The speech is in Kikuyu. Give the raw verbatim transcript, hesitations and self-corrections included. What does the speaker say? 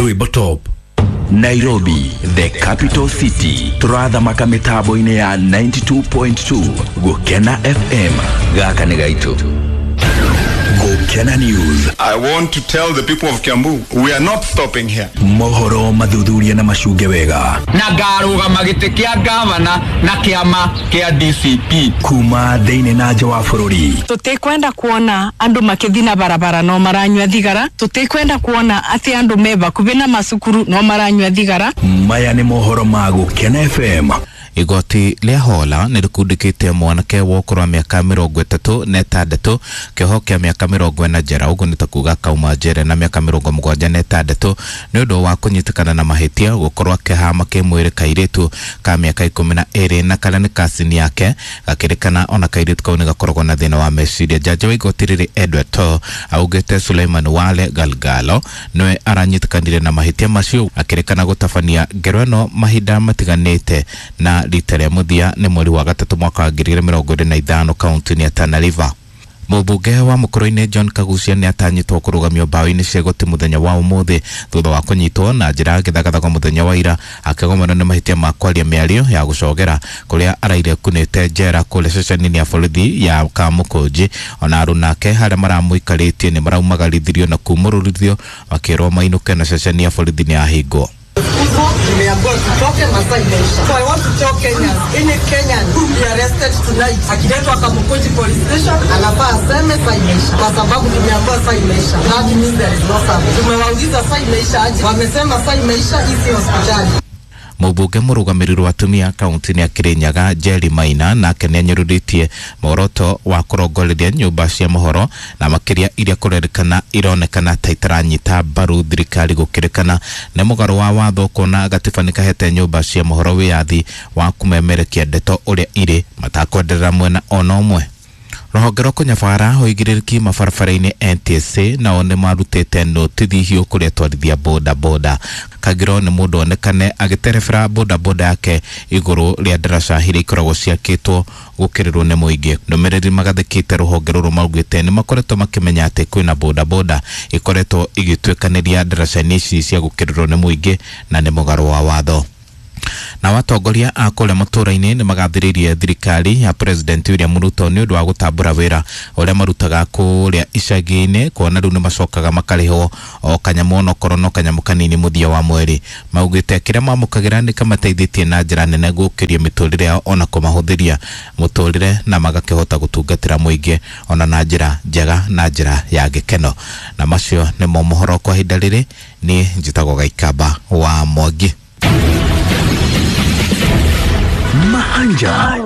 Rwimbo top. Nairobi, the capital city. Turathamaka mitambo-inĩ ya ninety-two point two Gukena F M. Gaka nĩ gaitũ. Gukena News. I want to tell the people of Kiambu, we are not stopping here. Mohoro mathuthuria na macunge wega. Na ngarũgama gĩtĩ kĩa gavana na kĩama kĩa D C P. Kuma thĩinĩ na nja wa bũrũri. Tũtikwenda kuona andũ makĩthiĩ na barabara no maranyua thigara. Tũtikwenda kuona atĩ andũ me hakuhĩ na macukuru no maranyua thigara. Maya nĩ mohoro ma Gukena F M. Igoti rĩa Hola nĩ rĩkundĩkĩte mwanake wa ũkũrũ wa mĩaka mĩrongo ĩtatũ na ĩtandatũ kĩoho kĩa mĩaka mĩrongo ĩna njera, ũguo nĩ ta kuga kauma njera na mĩaka mĩrongo mũgwanja na ĩtandatũ nĩ ũndũ wa kũnyitĩkana na mahĩtia gũkorwo akĩhama kĩmwĩrĩ kairĩtu ka mĩaka ikũmi na ĩrĩ na karĩa nĩ kacini yake, gakĩrĩkana ona kairĩtu kau nĩ gakoragwo na thĩna wa meciria. Jaji wa igoti rĩrĩ Edward Too augĩte Suleiman Wale Galgalo nĩwe aranyitĩkanire na mahĩtia macio, akĩrĩkana gũtabania ngero ĩno mahinda matiganĩte na rita rĩa mũthia nĩ mweri wa gatatũ mwaka wa ngiri igĩrĩ mĩrongo ĩrĩ na ithano kaunti-inĩ ya Tana River. Mũmbunge wa Mũkũrũ-inĩ John Kagucia nĩ atanyĩtwo kũrũgamio mbaũ-inĩ cia igoti mũthenya wa ũmũthĩ thutha wa kũnyitwo na njĩra ya gĩthagathago mũthenya wa ira akĩgomanwo nĩ mahĩtia ma kwaria mĩario ya gũcogera kũrĩa araire kunĩte njera kũrĩa ceceni-inĩ ya borithi ya Kamũkũnji. Ona arunake harĩa maramũikarĩtie nĩ maraumagarithirio na kumũrũrithio makĩrwo mainũke na ceceni ya borithi nĩ yahingwo. Tumeambiwa tutoke masaa imeisha. So I want to tell Kenyans, any Kenyan who be arrested tonight, akiletwa Kamukunji police station, anafaa aseme saa imeisha. Kwa sababu tumeambiwa saa imeisha. That means there is no service. Tumewauliza saa imeisha aje? Wamesema saa imeisha, hii si hospitali. Mũmbunge mũrũgamĩrĩri wa atumia kaunti-inĩ ya Kirinyaga Jerry Maina nake nĩanyũrũrĩtie muoroto wa kũrongoreria nyũmba cia mohoro na makĩria iria kũrerĩkana ironekana ta itaranyita mbaru thirikari gũkĩrĩkana nĩ mũgarũ wa watho kuona gatiba nĩ kahete nyũmba cia mohoro wĩyathi wa kũmemerekia ndeto ũrĩa irĩ matakwenderera mwena ona ũmwe. Rũhonge rwa kũnyabara ũigĩrĩrĩki mabarabara-inĩ N T S A nao nĩ marutĩte notithi hiũ kũrĩ atwarithia boda boda. Kagiro nĩ mũndũ onekane agĩterebera boda boda yake igũrũ rĩa ndaraca iria ikoragwo ciakĩtwo gũkĩrĩrwo nĩ mũingĩ. Ndũmĩrĩri magathĩkĩte rũhonge rũrũ maugĩte nĩ makoretwo makĩmenya atĩ kwĩna boda boda ikoretwo igĩtuĩkanĩria ndaraca-inĩ ici cia gũkĩrĩrwo nĩ mũingĩ na nĩ mũgarũ wa watho. Na watongoria a kũrĩa matũũra-inĩ nĩ magathĩrĩirie thirikari ya President William Ruto nĩ ũndũ wa gũtambũra wĩra ũrĩa marutaga kũrĩa icagi-inĩ kuona rĩu nĩ macokaga makarĩhwo o kanyamũ onokorwo no kanyamũ kanini mũthia wa mweri. Maugĩte kĩrĩa mamũkagĩra nĩ kamateithĩtie na njĩra nene gũkĩria mĩtũrĩre yao ona kũmahũthĩria mũtũrĩre na magakĩhota gũtungatĩra mũingĩ ona na njĩra njega na njĩra ya gĩkeno. Na macio nĩmo mohoro kwa ihinda rĩrĩ. Niĩ njĩtagwo Gaikamba wa Mwangi. Mahanja.